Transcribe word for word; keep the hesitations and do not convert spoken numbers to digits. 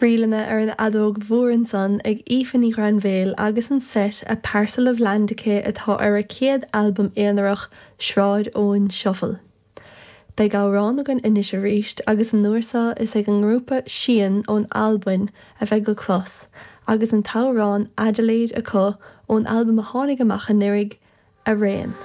Ríleanna ar an fheadóg mhór ansan ag Aoife Ní Ghrainbhéil agus an set A Parcel of Land aici atá ar a céad albam aonarach Sráid Eoin Shuffle. Beidh amhrán againn anois arís agus an uair seo is ag an ngrúpa Sian ón Albain a bheidh le clos, agus an t-amhrán Adelaide acu ón albam a tháinig amach anuraidh Arraon.